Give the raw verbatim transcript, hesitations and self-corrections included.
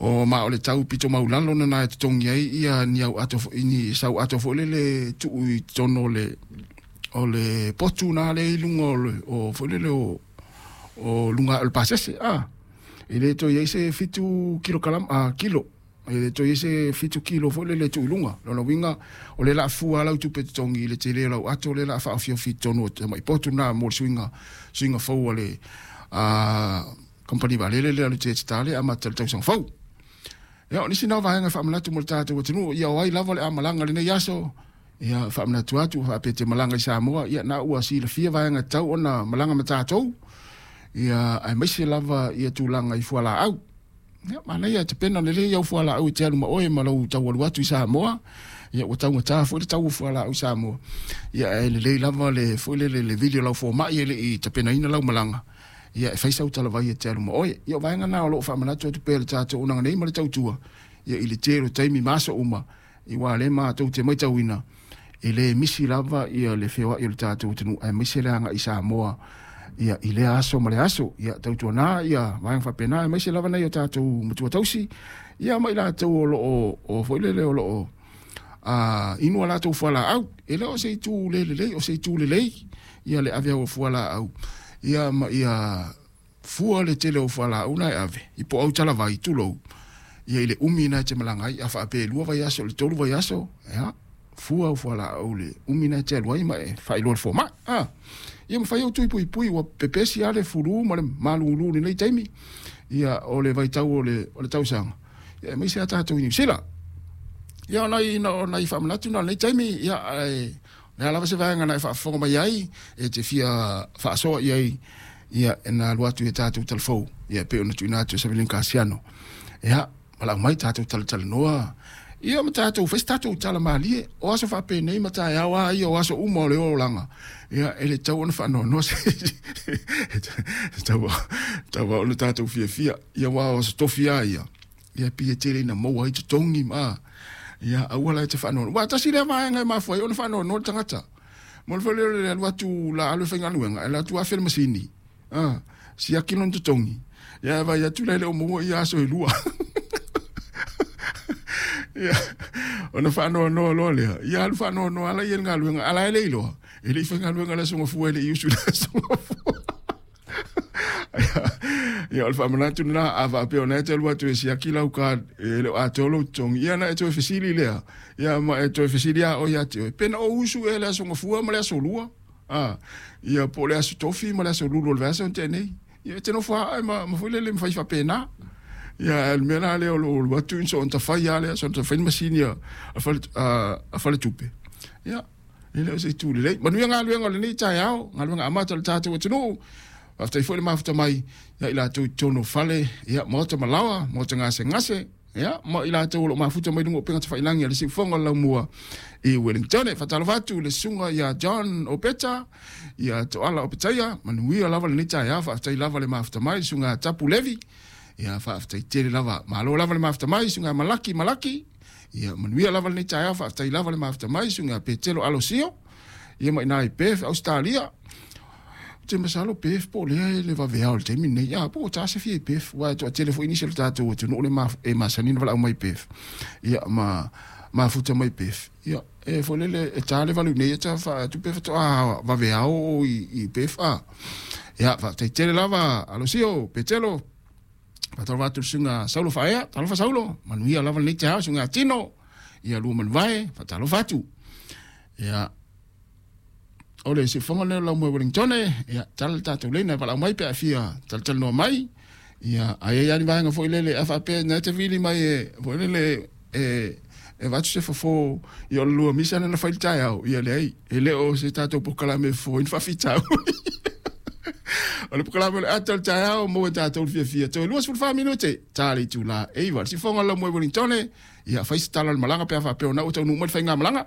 O ma o le tau pito maulalo na na e totogi ai ia ni au ato foi ni sau ato foi lele tuu i totonu o le o le potu na le i luga o le o foi lele o o luga o le pasese a e le toe i ai se fitu kilokalama a kilo e le toe i ai se fitu kilo foi lele e tuu i luga. Lona uiga o le laa fua lau tupe totogi i le tele o lau ato le laa faaofiofi i totonu o tamai potu na mo le suiga suiga fou a le a kamupani vaalele lea o le Jetstar le amata le tausaga fou. Ia o nisi na o vaega e faamanatu mo le tatou atunuu ia o ai lava le amalaga lenei aso ia faamanatu atu faapea te malaga i Samoa ia na ua silafia vaega tatau ona malaga ma tatou ia aemaise lava ia tulaga i fualaau. Ia manaia tapena lelei au fualaau e te alu ma oe ma lou tau alu atu i Samoa. Ia ua taugata foi le tau o fualaau i Samoa. Ia ae lelei lava le foi lele le vili o lau fomai e le i tapenaina lau malaga. Ia e fai sau talavai e te alu ma oe. Ia o vaega na o loo faamanatu atu pea le tatou auaunaga nei ma le tautua. Ia i le tele o taimi ma aso uma ia aua lea matou te matauina e le misi lava ia le feoai o le tatou atunuu aemaise le agai i Samoa ia i lea aso ma le aso. Ia tautuana ia vaega faapena aemaise lava nai o tatou matua tausi ia ma i latou o loo o foi lele o loo a inu a latou fualaau. E le o se itu le lelei, o se itu lelei ia le ave au o fualaau ia ma ia fua le tele o fualaau na e ave i po au talavai tulou ia i le umi na e te malaga ai a faapea e lua vaiaso le tolu vaiaso ia fua au fualaau le umi na e te alu ai ma e faailoa le fomai a ia mafai au tui puipui ua pepesi lava le fulu ma le malulu i lenei taimi ia o le vaitau o le o le tausaga ia aemaise a tatou i Niu Sila. Ia o nai o nai faamanatu na o lenei taimi ia ae o le a lava se vaega na e faafofoga mai ai e te fia faasoa i ai ia e na alu atu i tatou talafou ia e pei ona tuuina atu e Savelina Kasiano. Ia valaau mai tatou talatalanoa ia ma tatou fai se tatou tala malie o aso faapenei ma taeao a ia o aso uma o le olaga ia e le tatau ona faanoanoa se e tatau tatau ona tatou fiafia ia aua o aso tofi a ia ia pei e tele ina maua ai totogi ma ia aua la e te faanoanoa. Aua tasi lea vaega e mafua ai ona faanoanoa le tagata mo le foi lea o le alu atu la alu e faigaluega e alu atu afe le masini a siaki lona totogi ia e vaai atu la e le o maua ia aso e lua. Ia ona faanoanoa loa lea ia alu faanoanoa ala ia i le galuega a la e le iloa e le i faigaluega le aso gafua e le i usu i le aso gafua. Ia o le faamanatu lena a faapea o na e te alu atu e siaki lau card e le o atoa lou totogi ia na e toe fesili lea ia ma e toe fesili a oe ia te oe pe na ou usu ea le aso gafua ma le aso lua a ia po o le aso tofi ma le aso lulu o le vaiaso na tea nei ia e te nofo aa ma ma foi lele ma fai faapena. Ia le mea la lea o lou alu atu soona tafai lava lea soona tafai le masini a fale a faletupe ia e le o se itu lelei. Manuia galuega o lenei taeao, galuega amata o le tatou atunuu. Faafetai foi le mafuta mai ia i latou i totonu o fale ia maota ma laoa, maota gasegase ia ma i latou o loo mafuta mai luga o upega tafailagi a le siufofoga o le Laumua i Wellington. Faatalofa atu i le susuga ia John Opeta, ia Toala Opetaia, manuia lava lenei taeao. Faafetai lava le mafuta mai le susuga Tapu Levi. Ia faafetai tele lava, malo lava le mafuta mai susuga Malaki Malaki. Ia manuia lava lenei taeao. Faafetai lava le mafuta mai susuga Petelo Alosio. Ia ma ina i Perth, Australia. Ou te masalo Perth po o lea e le vaveao i le taimi lenei. Ia po o ta se fia i Perth, aua e toatele foi nisi o le tatou atunuu le e masani ona valaau mai i Perth. Ia ma mafuta mai Perth. Ia e foi lele e ta le valu nei e ta faatupe faatoa vaveao o i, i Perth a. Ia faafetai tele lava Alosio, Petelo. Faatalofa atu i le susuga Saulo Faaea, talofa Saulo, manuia lava lenei taeao susuga Tino. Ia lua manuvae, faatalofa atu. Ia o le siufofoga lea o Laumua i Wellington, ia tala le tatou leina e valaau mai pe a fia talatalanoa mai. Ia a i ai ni vaega foi lele a faapea na te vili mai e foi lele e e avatu se fofo ia o le lua misa na fai i le taeao ia leai e le o se tatou polokalame e fofo ai ni faafitauli. O le polokalame o le ata o le taeao maua e tatou le fiafia toe luasefulu fa minute ta le itula e iva. Le siufofoga o le Laumua i Wellington, ia fai se tala o le malaga pe a faapea o na ua taunuu mai le faigamalaga.